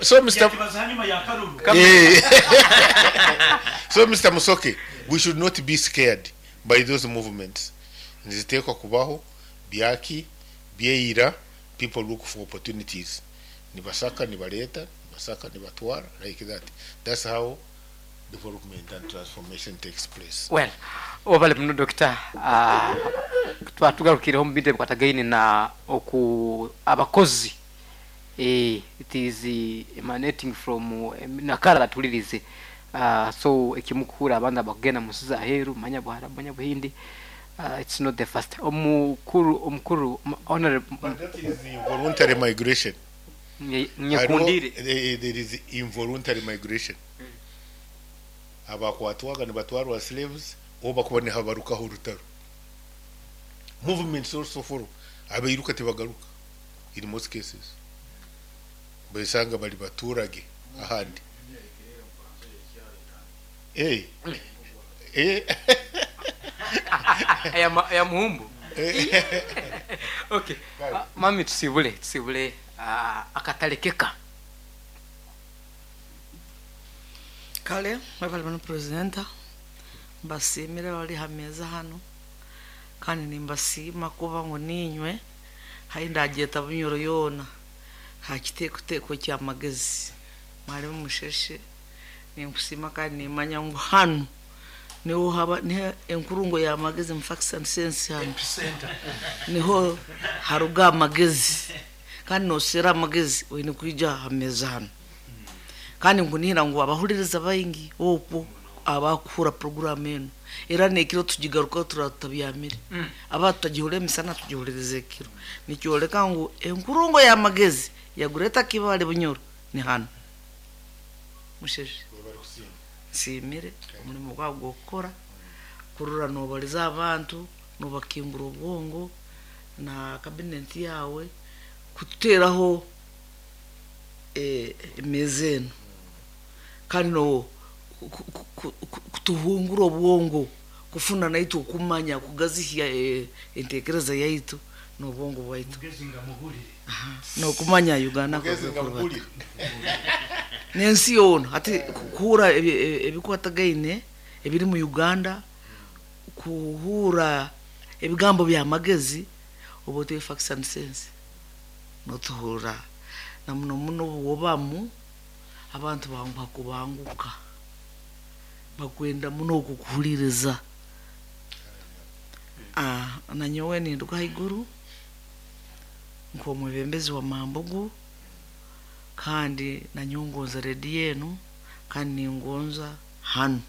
So Mr. Yakibaza hanyuma ya karuru. So Mr. Musoke, we should not be scared by those movements. Niziteekwa kubaho byaki byeira. People look for opportunities, nibasaka nibaleta, nibasaka nibatwara, like that. That's how development and transformation takes place. Well, obale muno, dokita. Twatugarukireho mu bintu ebikwatagaine na oku abakozi. It is emanating from nakara atulirize. So ekimukuhura abandi abakugenda mu nsi zaheru, manya Buharabu, manya Buhindi. It's not the first. Omukuru honorable. But that is involuntary migration. Nyekundire. There is involuntary migration. Abakwatwaga nibatwarwa slaves oba bakuba nihabarukaho orutaro. Movements also follow. Abairuka tibagaruka in most cases. Besanga bali baturage ahandi. Aya muhumbu. Okay. Mami, tusibule akatalekeka. Kale mwebale bano, purezidenta, mbasiimire bali hameza hano, kandi nimbasiima kuba ngu ninywe hai ndagyeta Bunyoro yoona hakiteekoteko kyamagezi. Mwalimu Musheshe, ninkusiima kandi nimanya ngu hanu niho haba niho enkurungo y'amagezi mu facts and sense. Hano niho haruga amagezi, kandi nosera amagezi oine kwija hameza hano. Kandi nkunihira ngu abahuririza baingi okwo abakuhura poroguramu eno, era nekiro tugigarukaho turatabyamire, aba tutagihura emisana tugihuririza ekiro, nikyoleka ngu enkurungo y'amagezi yagureta Kibale Bunyoro ni hano. Musheshe, nsiimire omurimo gwawe gwokukora kurora nobaliza abantu, nobakingura obwongo na kabineti yawe kututeraho emeza eno, kandi no kutuhungura obwongo, kufuna naitwe okumanya kugazihya entekereza yaitu n'obwongo bwaitu. Mugezi nga muhulire. N'okumanya Uganda. Mugezi nga muhulire. N'ensi yoona hati kuhura ebikwatagaine ebiri mu Uganda, kuhura ebigambo byamagezi oba ote facts and sense notuhura na muno muno wobamu abantu banguha kubanguka, bakwenda muno okukuhuliriza. Nanyowe ninduka haiguru nk'omwebembezi wa Mambugu, kandi nanyongonza rediyo enu, kandi ningonza hanu.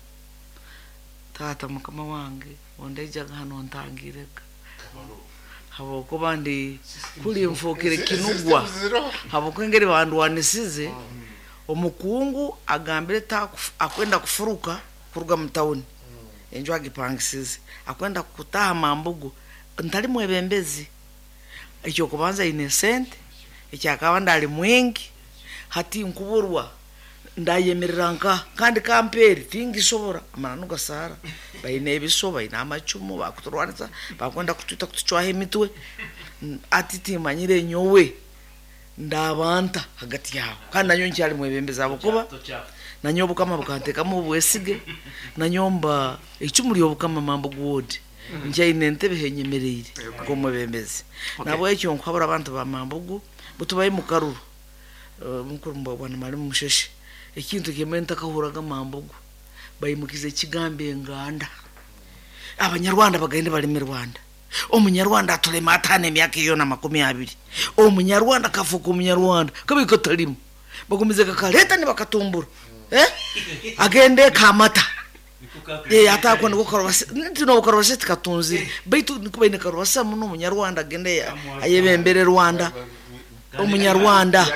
Taata mukama wange ondaijaga hano ntangireka habwokuba ndi kuli nfukire kinugwa, habwokuba engeri bandwanisize. Omukungu agambire akwenda kufuruka kuruga mu tawuni, enju agipangisize, akwenda kutaha Mambugu ntali mwebembezi. Ekyokubanza aine sente, ekyakaba ndali mwingi. Hati nkuburwa ndayemerera nka kandi kamperi tingisobora amananu gasara. Baine ebiso, baine amacumu, bakuturwanisa, bakwenda kutwita, kutucwaho emitwe. Ati timanyire nyowe ndabanta hagati yabo, kandi nanyo nkyali mwebembezi abo kuba nanyo obukama bukantekamu obwesige, nanyomba icumu ly'obukama Mambugu wodi, nkyaine entebe henyemereire nk'omwebembezi. Nabwekyo nkuhabura abantu ba Mambugu butubaye mu karuru. Mukuru bwana Mwalimu Musheshe, ekintu kimwe ntakahuraga Mambugu, bayimukize ekigambo enganda. Abanyarwanda bagende baleme Rwanda. Omunyarwanda atulema atana emyaka iyo na 20. Omunyarwanda kafuka omunyarwanda kabi katalimu, bagumize kakaleta nibakatumbura, eh? Agende kamata. Atakwa niko karwasa ntino karwasa tikatunzire, baitu niko baine karwasa muno. Omunyarwanda agende ayebembere Rwanda. Omunyarwanda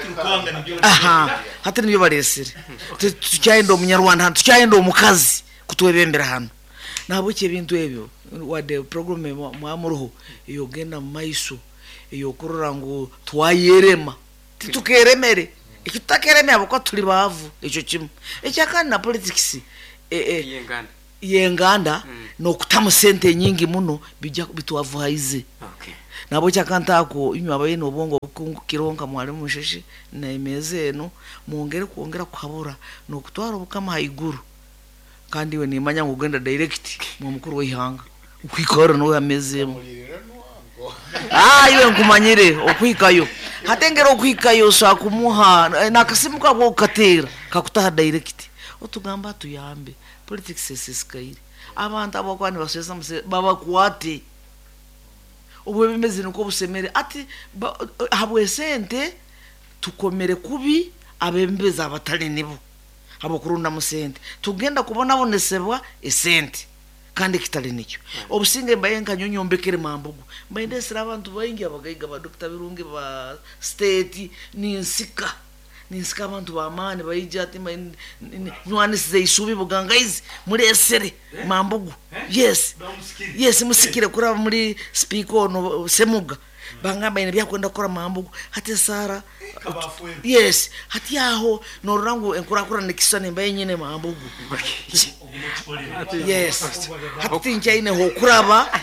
aha hati nibyo balesere. Tukyayenda omunyarwanda hano, tukyayenda omukazi kutwebembera hano. Nabwekyo ebintu ebyo, wadde program mwamuruho eyogenda mu maiso eyokurora ngu twayerema, titukeremere ekyo, tutakereme habwokuba tuli baavu. Ekyo kimu. Ekyakandi na politics yenganda. Yenganda nokutamu sente nyingi muno bijja bitwavuhaize. Nabo kyakantako inywe abayine obwongo obukungukireho nka mwalimu Musheshi n'emeeza eno, mwongere kwongera kuhabura n'okutwara obukama haiguru. Kandi iwe nimanya ngu ogenda direct mu mukuru w'ihanga ukwikora n'oha meeza emu. Iwe nkumanyire okwikayo. Hatengera okwikayo osha kumuha nakasimu kabwo okatera kakutaha direct. Otugamba tuyambe politics esisikaire. Abantu abakwani basesa babakwate. Obwebembezi niko busemere ati habwe sente tukomere kubi abembezi abatali nibo abakurunda musente tugenda kubona bonesebwa esente kandi kitali nikyo. Obusinge mbaye nka nyonyombekere Mambugu mbaye ndesera abantu baingi abagaiga ba Dr. Birungi ba state ninsika ninsika abantu bamani baija ati nywanisize isubi bugangaizi muresere Mambugu. Yes, yes, musikire kuraba muri speaker ono Semuga bangamba ine byakwenda kukora Mambugu hati Sara. Yes, hati aho norangu enkurakura nekiswa nembaye nyine Mambugu. Yes, hati tinchaine ho kuraba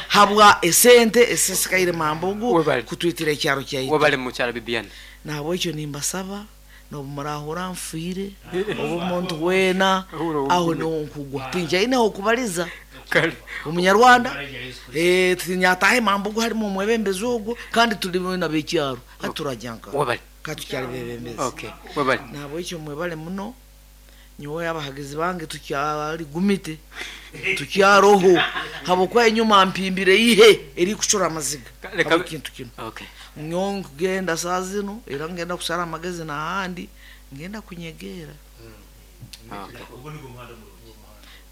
habwa esente esesikaire Mambugu kutwitira ekyaro kyaitu. Wabale mu kyaro Bibiana. Nabo ekyo nimbasaba nobumurahura nfire obumuntu wena aho nonkugwa tinchaine ho kubaliza Omunyarwanda tinyatahe Mambugu harimo omwebembezi ogwo kandi tuli na bekyaro aturajanka katukyali bebembezi. Okay, wabale. Nabo ekyo mwebale muno nyowe abahagizi bange tukyali gumite tukyaroho habokwa enyuma mpimbire ihe eri kuchura amaziga kintu kino. Okay, nyo ngenda saa zino era ngenda kusara amagezi n'ahandi ngenda kunyegera. Okay.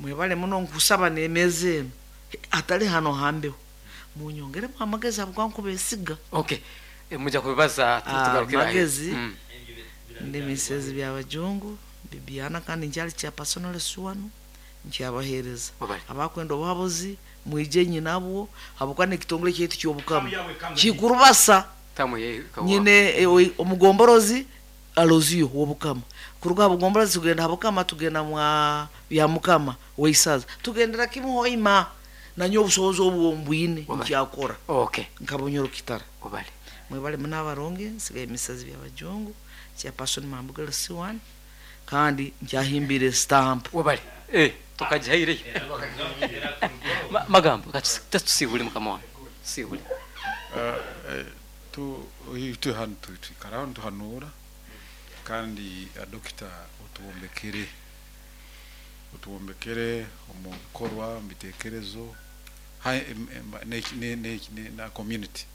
Mwebale muno nkusaba nemeze eno atali hano hambeho munyongeremu amagezi habwa nkubesiga. Okay, mujja kubibaza tugarukira amagezi ndi misezi byabajungu Bibiana kandi nkyali kya personal suwano nkyabahereza abakwenda obuhabuzi mwije nyinabwo habukwa nekitongole kyaitu kyobukama kikurubasa nyine omugomborozi aloziyo wobukama kuruga bugomborozi tugenda habukama tugenda mwa bya mukama weisaza tugendera kimuhoima nanyo obusobozi obwo mbwine nkyakora. Okay, nkabunyoro kitara. Obale mwebale munabaronge nsigaye misazi byabajungu kya person Mambugu C1 kandi nkyahimbire stamp. Wabale tukajaire magambo katusibule mukama wange sibule tu tu hantu tukaraho tuhanura kandi dokita utuwombekere omukorwa mbitekerezo na community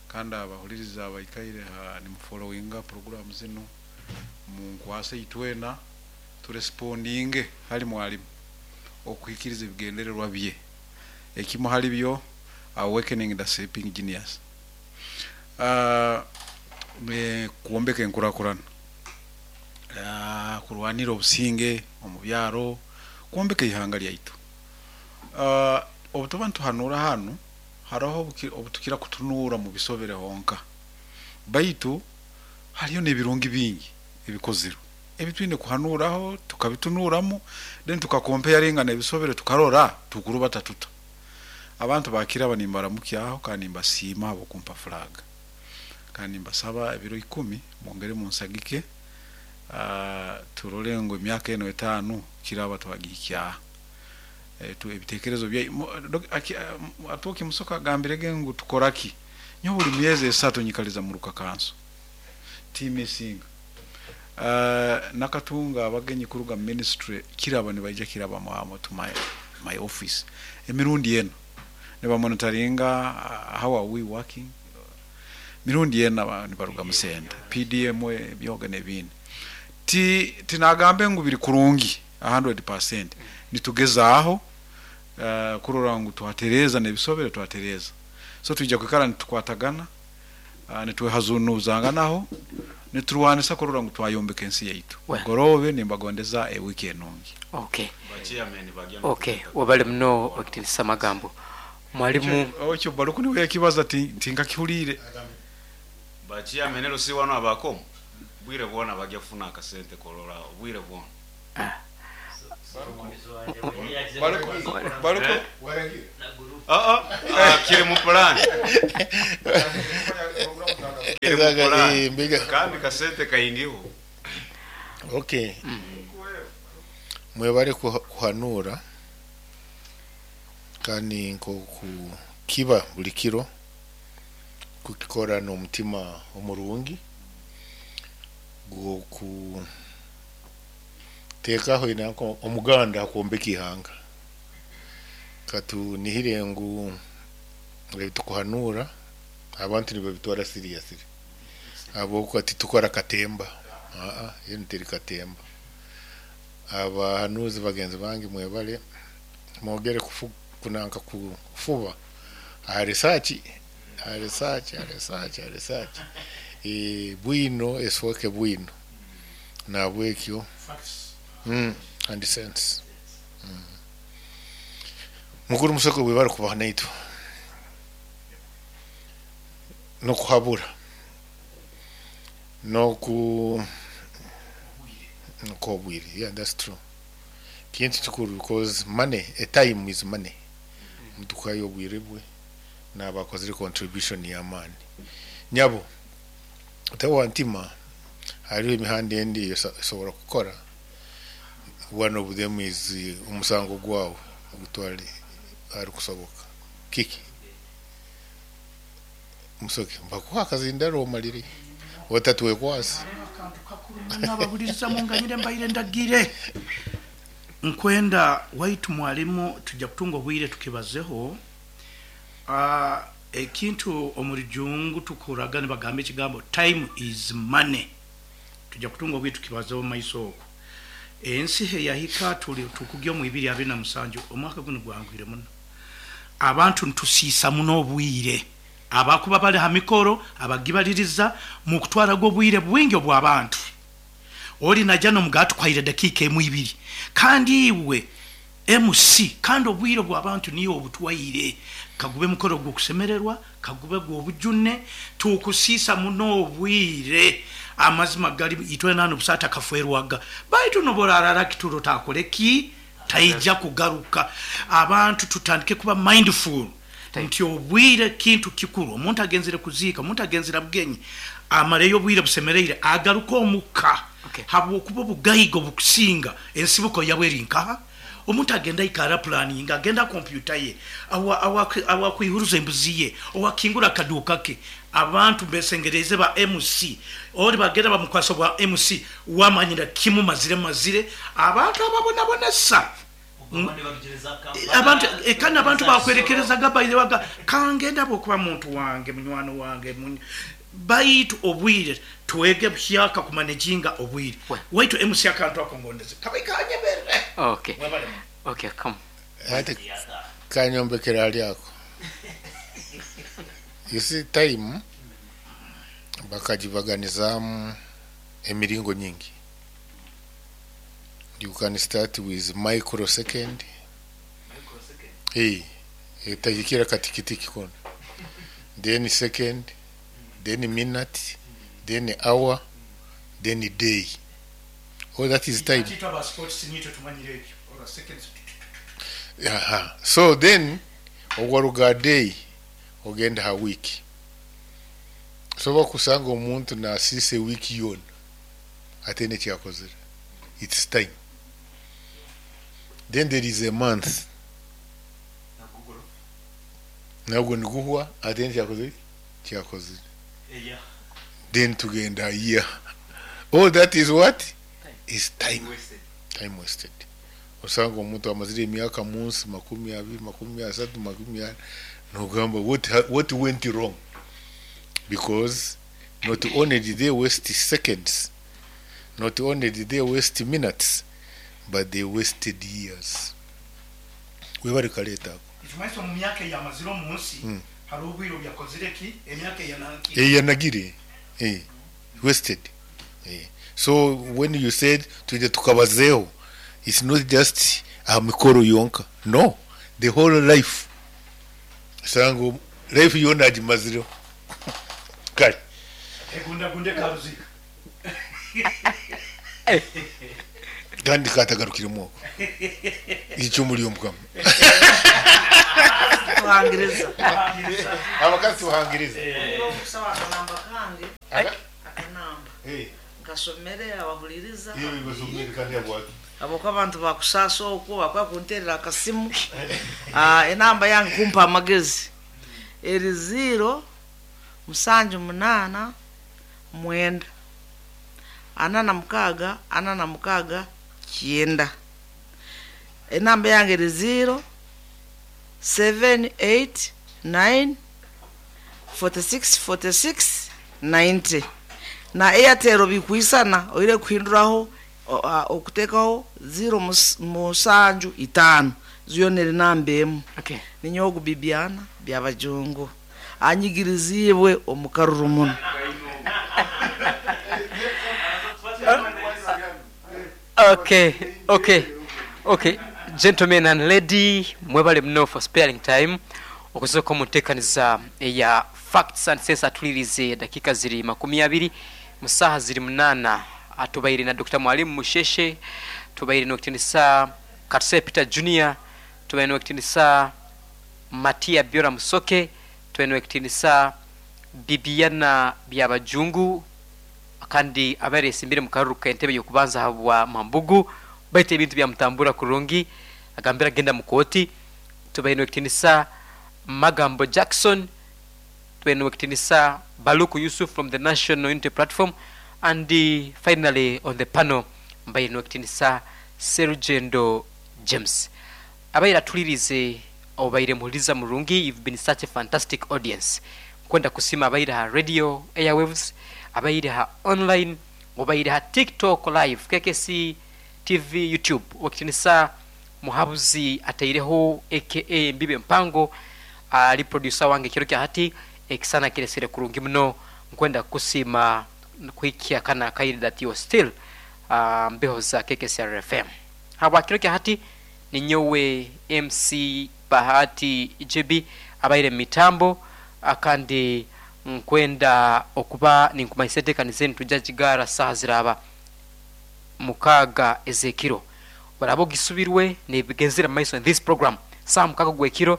kandi abahuliriza abaikaire ni mufollowinga program zino munkwase itwena turespondinge hali mwalimu okuhikiriza ebigendererwa bye ekimu hali byo awakening the sleeping genius kuwombeka enkurakurana kurwanira obusinge omu byaro kuwombeka ihanga lyaitu. Obutuba ntuhanura hanu haraho obutukira kutunura mu bisobere honka baitu hariyo n'ebirungi bingi ebikozero ebitwine kuhanuraho tukabitunuramu then tukakompea n'ebisobere tukarora tukuruba tatuta abantu bakira banimbaramukiaho kandi mbasiima abo kumpa flag kandi mbasaba ebiro 10 mwongere munsagike turole ngo emyaka eno 5 kiraba twagikya tu ebitekerezo bya atoki musoka gambirege ngu tukoraki nyo buli myezi 3 nyikaliza muruka kanso team esinga nakatunga abagenyi kuruga ministry kiraba ne baija kiraba mwamo to my office emirundi eno ne bamonitoringa how are we working mirundi ena ni baruga musenda PDM byoga nebindi ti tinagambe ngu biri kurungi 100% nitugezaaho kurora ngu tuhatereza nebisobere tuhatereza so tujja kwikara nitukwatagana nitwehazunuzanganaho niturwanisa kurora ngu twayombeka ensi yaitu gorobe nimbagondeza e wiki enungi. Okay, okay, wabale muno okitinisa magambo mwalimu okyo baluku niwe yakibaza tinga kihulire bachairman ero si wano abakomu bwire bwona bajja kufuna akasente kolora bwire bwona. Baruko Ah, ah, kiri mu plan. Kiri mu plan. Eh, mbega Kandi kasente kaingiho. Okay, mwebale kuhanura kandi nkokukiba buli kiro kukikora n'omutima omurungi gwokuteekaho inako omuganda akwombeka ihanga. Katunihire ngu ebitukuhanura abantu nibabitwara seriously, habwokuba titukora katemba. Aa, eno teri katemba. Abahanuzi bagenzi bange mwebale mwogere kunanka kufuba aha research, aha research, aha research, aha research. Bwino esooke bwino nabwekyo and sense. Mukuru Musoko, webale kubaha naitwe nokuhabura noku nokobwire. Yeah, that's true. Kintu kikuru, because money, a time is money. Mutukayo obwire bwe nabakozere contribution y'amaani. Nyabo tewantima, hariho emihanda endi esobola kukora. One of them is omusango gwawe ogutwale ari kusoboka kiki. Musoke, mbakuha akazindaro omalire otatwekwasa. Akantu kakuru muno, abahuliriza munganyire, mbaire ndagire nkwenda waitu mwalimu tujja kutunga obwire tukibazeho. Ekintu omurijungu tukuraga nibagamba ekigambo "time is money". Tujja kutunga obwire tukibazeho mu maiso okwo. Ensi heyahika tuli tukugya omu 2027, omwaka guno gwangwire muno. Abantu ntusiisa muno obwire, abakuba bali ha mikoro abagibaliriza mu kutwaraga obwire bwingi obw'abantu. Oli najja nomugaa tukwaire dakiika emu ibiri, kandi iwe MC, kandi obwire bw'abantu niyo obutwaire. Kagube mukoro gw'okusemererwa, kagube gw'obujune, tukusiisa muno obwire. Amazima gali itwe nano busaata kafwerwaga, baitu noborarara kituro takoleki taija kugaruka. Abantu tutandike kuba mindful nti obwire kintu kikuru. Omuntu agenzere kuziika, omuntu agenzere bugenyi, amaleyo obwire busemereire agaruka omuka. Habwokuba obugayiga obukusinga ensibuko yabwe eri nkaha? Omuntu agenda ikara planning, agenda kompyuta ye, awakwihuruza embuzi ye, owakingura akaduuka ke. Abantu besengereze ba MC, oli bagenda bamukwasa bwa MC, wamanyira kimu mazire mazire abantu ababonabonesa abantu. Kandi abantu bakwerekerezaga baire baga kangenda bwokuba muntu wange, munywani wange, baitu obwire twege buhyaka kumanejinga obwire. Waitu MC, akantu akongondeze kabaikanyebere. Mwebale. Okay, come. Ate kanyombekera ali ako. You see, time bakagibaganizamu emiringo nyingi. You can start with microsecond. Hey, etahikira katikitiki kona, then second, then minute, then hour, then day. All that is time. Kitwa ba sports nitwe tumanyire ekyo ora seconds. Aha. So then ogwaruga day ogenda ha week. Sobola kusanga omuntu nasiisa wiiki yona ate nekyakozere. It's time. Then there is a month, nabwo niguhwa ate nekyakozere kyakozere. Then tugenda year. All that is what is time, time wasted. Osanga omuntu amazire emyaka munsi 20, 30, 40, nogamba what went wrong? Because not only did they waste seconds, not only did they waste minutes, but they wasted years. Webale kaleeta ako. Ekimanyisa omu myaka eyamazire omu nsi hari obwire obyakozire ki emyaka eyananki. Eyanagire, wasted. So when you said tuje tukabazeho, it's not just aha mikoro yonka, no, the whole life. Sanga life yona agimazireho kale. Egundagunde karuzika. Kandi katagarukiremu okwo icumu ly'omukama. Tuhangiriza. Abakazi tuhangiriza. Okusaba akanamba kange. Akanamba. Eh. Nkasomere abahuliriza. Iyo basomere kandi abwaki. Habwokuba abantu bakusaasa okwo bakwa kunterera akasimu. Enamba yange kumpa amagezi eri 0 7 8 9 46 46 9. Enamba yange eri 0 7 8 9 46 46 90. Na Airtel bikwisana oire kuhinduraho okutekaho 0 7 5 ziyonere namba emu. Okay. Ninyogu Bibiana Byabajungu anyigirizibwe omukaruru muno. Okay, gentlemen and lady, mwebale muno for sparing time okusooka omuteekaniza eya Facts and Sense. Atulirize dakika ziri 20 mu saaha ziri 8. Atubaire na Dr. Mwalimu Musheshe, tubaire n'okutinisa Katuse Peter Junior, tubaire n'okutinisa Matia Biora Musoke, tubaire n'okutinisa Bibiana Byabajungu, kandi abaire esimbire mu karuru k'entebe y'okubanza habwa Mambugu, baitu ebintu byamutambura kurungi agambira agenda mu kooti. Tubaire n'okutinisa Magambo Jackson, tubaire n'okutinisa Baluku Yusuf from the National Unity Platform, and finally on the panel mbaire n'okutinisa Serugendo James. Abaire atulirize obaire muhuliriza murungi, you've been such a fantastic audience. Nkwenda kusima abaire ha radio airwaves, abaire ha online, obaire ha TikTok live, KKC TV, YouTube. Wakitinisa muhabuzi ataireho aka Mbibe Mpango ali producer wange kiro kya hati ekisana kiresere kurungi muno. Nkwenda kusima kuikia kana kairi that you still mbeho za KKCR FM. Habwa kiro kya hati ni nyowe MC Bahati JB abaire mitambo, akandi nkwenda okuba ninkumayisetekanize nitujja kigara saha ziraba 6 ezekiro barabo gisubirwe nebigenzera maiso in this program saa 6 gwekiro.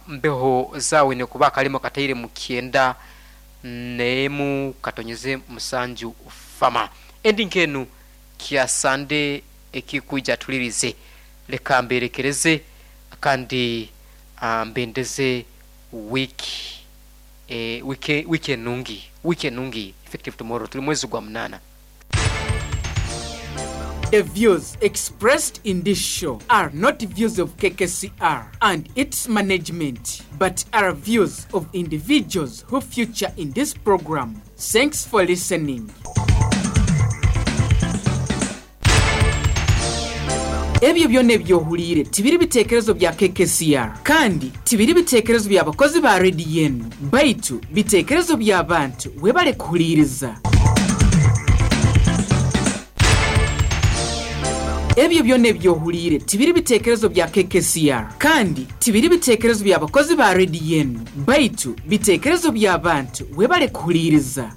Mbeho zawe nekuba kalimo kataire mu 91 katonyeze 7 fama ending kenu kya Sunday ekikuja tulirize. Leka mberekereze kandi mbendeze wiki wiki nungi effective tomorrow tuli mwezi gwa 8. The views expressed in this show are not views of KKCR and its management, but are views of individuals who feature in this program. Thanks for listening. Ebyo byonna ebyohuliire tibiri biteekerezo bya KKCR kandi tibiri biteekerezo by'abakozi ba rediyo enu, baitu biteekerezo by'abantu webale kuhuliiriza. Ebyo byonna ebyohuliire tibiri biteekerezo bya KKCR kandi tibiri biteekerezo by'abakozi ba rediyo enu, baitu biteekerezo by'abantu webale kuhuliiriza.